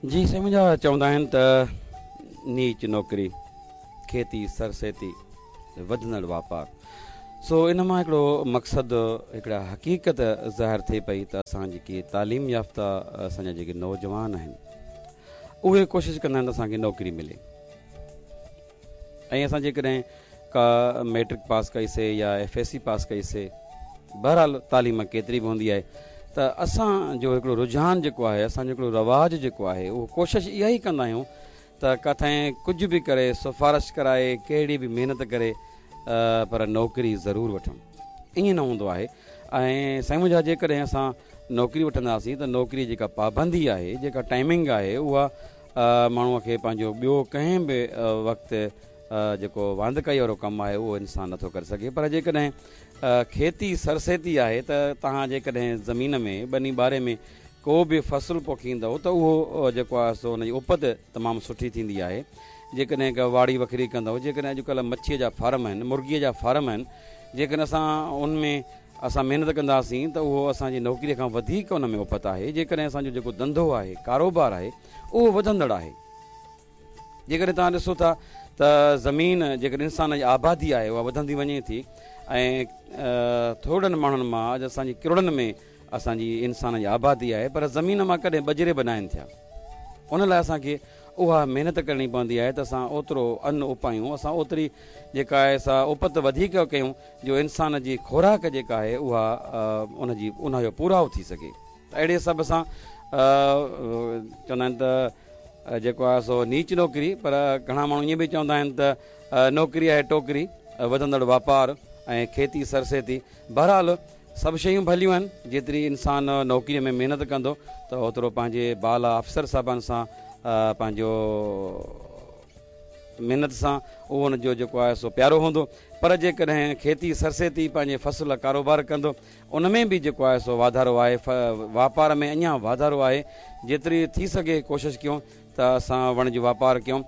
جي سائين منهنجا چوندا آهن ته نيچ نوڪري، کيتي سرسيتي، وڌندڙ واپار. سو ان مان هڪڙو مقصد هڪڙا حقيقت ظاهر ٿئي پئي ته اسان جيڪي تعليم يافته اسان جا جيڪي نوجوان آهن اهي ڪوشش ڪندا آهن ته اسان کي نوڪري ملي ۽ اسان جيڪڏهن ڪا ميٽرڪ پاس ڪئي سي يا ايف ايس سي پاس ڪئي سي بهرحال تعليم ڪيتري به هوندي آهي ته اسان جو هڪڙو رجحان جيڪو آهي اسان جو هڪڙو رواج جيڪو آهي اهو ڪوشش اها ئي ڪندا آهيون ته ڪٿي ڪجهه به ڪري سفارش ڪرائي ڪهڙي به محنت ڪري پر نوڪري ضرور وٺون ائين نه هوندو آهي ۽ سائين منهنجا جيڪڏهن اسان نوڪري وٺنداسين ته نوڪري جيڪا پابندي آهي جيڪا ٽائمنگ آهي اها ماڻهوء کي پنهنجو ٻيو ڪنهن به وقت جيڪو واندڪائي وارو ڪم آهي اهو انسان نٿو ڪري سگهي پر جيڪڏهن کيتي سرسيتي آهي ته توهان جيڪڏهن زمين ۾ ٻني ٻاري ۾ ڪو به فصل پوکيندؤ ته اهو جيڪو آهي سو ان جي اپت تمام سٺي ٿيندي آهي جيڪڏهن ڪا واڙي وکري ڪندؤ جيڪڏهن اڄڪلهه مڇيء جا فارم آهن مرغيء جا فارم آهن جيڪڏهن اسان ان ۾ اسان محنت ڪنداسين ته اهو اسان جي نوڪريء کان وڌيڪ ان ۾ اپت آهي جيڪڏهن اسان جو جيڪو ڌنڌو آهي ڪاروبار آهي اهو وڌندڙ آهي جيڪڏهن توهان ڏسو ٿا ته زمين جيڪڏهن انسان جي آبادي آهي اها وڌندي وڃي ٿي ۽ ٿورڙن ماڻهن مان اڄ اسان جي ڪروڙن ۾ اسان جي انسان جي آبادي آهي پر زمين مان ڪڏهن ٻجري به ناهن ٿيا ان لاء اسان کي اها محنت ڪرڻي پوندي آهي ته اسان اوترو ان اپايون اسان اوتري جيڪا آهي سا اپت وڌيڪ ڪيون جو انسان جي خوراڪ جيڪا آهي اها ان جي ان جو پورائو ٿي سگهي ته اهڙي حساب سان چوندا آهن ته جيڪو آهي سو نيچ نوڪري پر گهڻا ماڻهو ائين به چوندا آهن ته نوڪري آهي ٽوڪري وڌندڙ واپار ۽ کيتي سرسيتي بهرحال سڀ شيون ڀليون آهن جيتري انسان نوڪري ۾ محنت ڪندو ته اوترو پنهنجي بالا افسر صاحبان سان پنهنجو محنت سان اهو ان جو جيڪو آهي سو پيارو هوندو پر جيڪڏهن کيتي سرسيتي پنهنجي فصل ڪاروبار ڪندو ان ۾ به جيڪو آهي سو واڌارو آهي واپار ۾ اڃا واڌارو آهي جيتري ٿي سگهي ڪوشش ڪيون ته اسان وڻج واپار ڪيون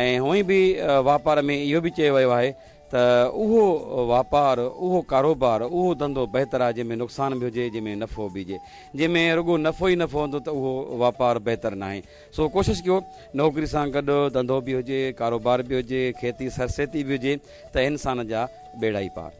۽ هونئن به واپار ۾ اهو به چيو ويو آهي ته اهو واپار اهو ڪاروبار اهو ڌنڌو بهتر آهي جنهن ۾ نقصان به هجي جنهن ۾ نفعو به هجي جنهن ۾ رڳو نفعو ئي نفعو هوندو ته اهو واپار بهتر ناهي سو ڪوشش ڪيو نوڪري سان گڏ ڌنڌو به هجي ڪاروبار به هجي کيتي سرسيتي به هجي ته انسان جا ٻيڙا ئي پار.